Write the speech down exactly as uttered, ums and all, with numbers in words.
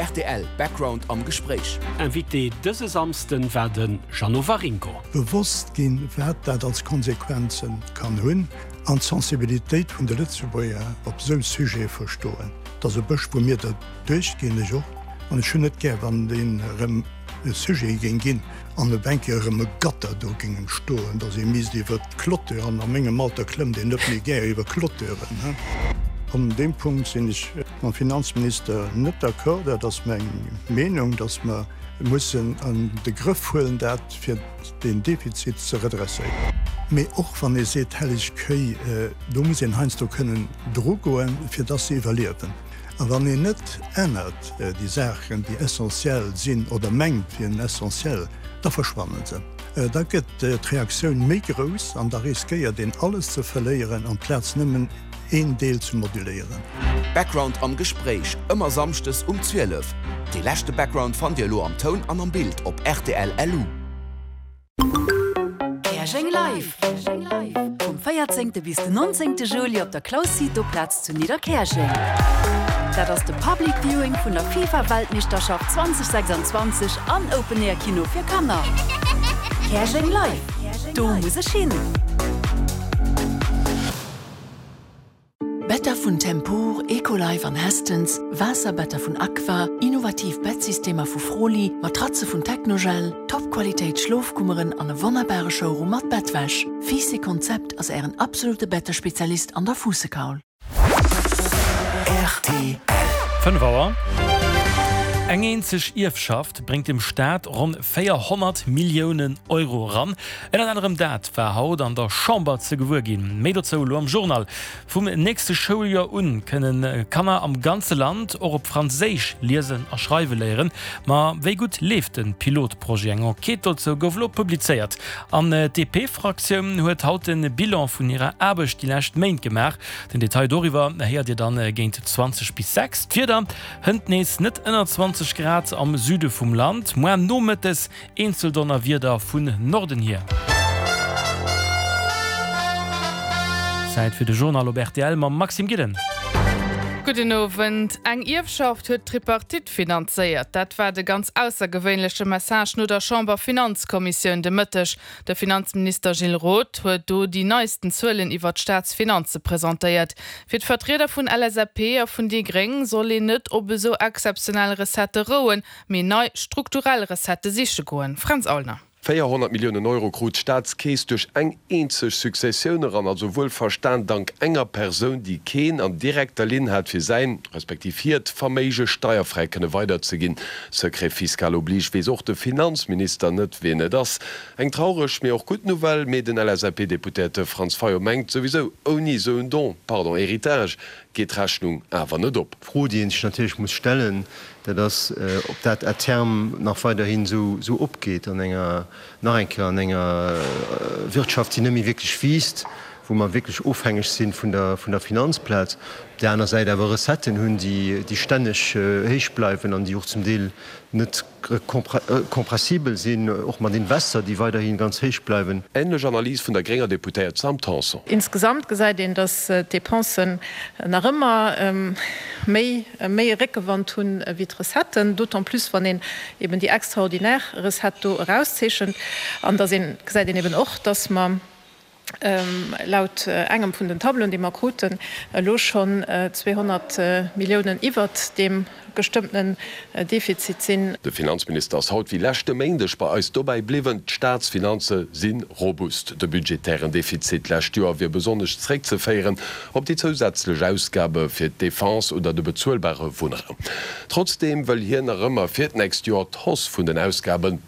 R T L Background am Gespréich. Invité dëse Samsden war de Jeannot Waringo. Bewosst ginn, wat dat als Konsequenze kann hunn an d'Sensibilitéit vun de Lëtzebuerger op sou Sujete verstoen. Dat ass e bësch wou mir dat duerchginn ech och an ech hunn net gär wann deen erëm e Sujet géing ginn an e Bänke erëm e Gatter do géingen stoen, datt ee misst iwwer d'Clôture an a mengem Alter klëmmt een net méi gär iwwer Clôturen. An deem Punkt sinn ech mam Finanzminister net d'accord, dat ass meng Meenung, datt mer mussen an de Grëff huelen dat fir den Defizit ze redresséieren. Mee och wann ee seet helleg Kéi, do muss een heiansdo kënnen drugoen, fir datt se iwwerliewen. A wann een net ännert déi Saachen, déi essentiell sinn oder mengt wieren essentiell, da verschwannen se. Da gëtt d'Reaktioun méi grouss an da riskéiert een alles ze verléieren amplaz nëmmen een Deel ze moduléieren. Background am Gespréich, ëmmer samschdes um zwielef. Dee leschte Background fannt Dir elo am Toun an am Bild op R T L L U. Käerjeng Live! Vum véierzéngte bis den nonzéngte Juli op der Claus Cito Plaz zu Nidderkäerjeng. Dat ass de Public Viewing vun der FIFA-Weltmeeschterschaft zweedausendsechsanzwanzeg an Open Air Kino fir Kanner. Käerjeng Live! Do muss ech hin! Better vun Tempur, Ecolife an Hästens, Waasserbetter vun Aqua, innovativ Bettsystemer vu Froli, Matratze vun Technogel, Topqualitéit Schlofkummeren an e wonnerbare Showroom mat Bettwäsch. Fiiss Konzept ass ären absolute Bettespezialist an der Fuussekaul. R T L. fënnef Auer. Eng eenzeg Ierfschaft bréngt dem Staat ronn véierhonnert Milliounen Euro eran. Ënnert anerem dat war haut an der Chamber ze gewuer ginn. Méi dozou elo am Journal. Vum nächste Schouljoer un kënnen Kanner am ganze Land och op Franséisch liesen a schreiwe léieren. Ma wéi gutt leeft de Pilotprojet? Eng Enquête dozou gouf elo publizéiert. An d'D P-Fraktioun huet haut de Bilan vun hirer Aarbecht déi lescht Méint gemaach. Den Detail doriwwer héiert Dir dann géint zwanzeg bis sechs. D'Wieder hënt nees net ënner zwanzeg Grad am Süde vum Land, muer nomëttes eenzel Donnerwieder vun Norden hier. Zäit fir de Journal op R T L mam Maxime Gillen. Gudden Owend. Eng Ierfschaft huet d'Tripartite finanzéiert. Dat war de ganz aussergewéinleche Message no der Chamberfinanzkommissioun de Mëtteg. De Finanzminister Gilles Roth huet do déi neisten Zuelen iwwer d'Staatsfinanze presentéiert. Fir d'Vertrieder vun L S A P a vun déi Gréng soll een net op esou exzeptionell Recettë rouen, mee nei strukturell Recettë siche goen. Fränz Aulner. véierhonnert Milliounen Euro krut d'Staatskeess duerch eng eenzeg Successioun eran, also wuelverstan dank enger Persoun, déi keen an direkter Linn hat fir säin, respektiv hiert Verméige steierfräi kënne weiderzeginn. Secret fiscal oblige, weess och de Finanzminister net, wien et ass. Eng traureg, mee och gutt Nouvelle, mee den L S A P-Deputéierte Franz Fayot mengt souwisou, ouni esou en Don, pardon, Héritage, geet d'Rechnung awer net op. D'Fro, déi een sech natierlech muss stellen, dat ass, ob dat à terme nach weiderhin esou opgeet an enger, nach eng Kéier, an enger Wirtschaft, déi net méi wierklech wiisst, wou mer wierklech ofhängeg si vun der, vun der Finanzplaz, op där aner Säit awer Recetten hunn, déi, déi stänneg héich bleiwen an déi och zum Deel net kompressibel sinn, och mat Investor, déi weiderhi ganz héich bleiwen. Änlech Analys vun der grénger Deputéiert Sam Tanson. Insgesamt gesäit een, datt d'Depensen nach ëmmer méi méi Réckewand hunn wéi d'Recetten, d'autant plus wann een eben déi extraordinär Recette do erauszeechent. An da gesäit een eben och, datt mer laut engem vun den Tableauen, déi mer kruten, elo schonn zweehonnert Milliounen iwwert deem gestëmmten Defizit sinn. De Finanzminister ass haut wéi leschte Méindeg bei eis dobäi bliwwen, D'Staatsfinanze si robust. De budgetären Defizit d'lescht Joer wier besonnesch zeréckzeféieren op déi zousätzlech Ausgabe fir d'Defense oder de bezuelbare Wunnraum. Trotzdeem wëll hien nach ëmmer fir d'nächst Joer d'Hausse vun den Ausgaben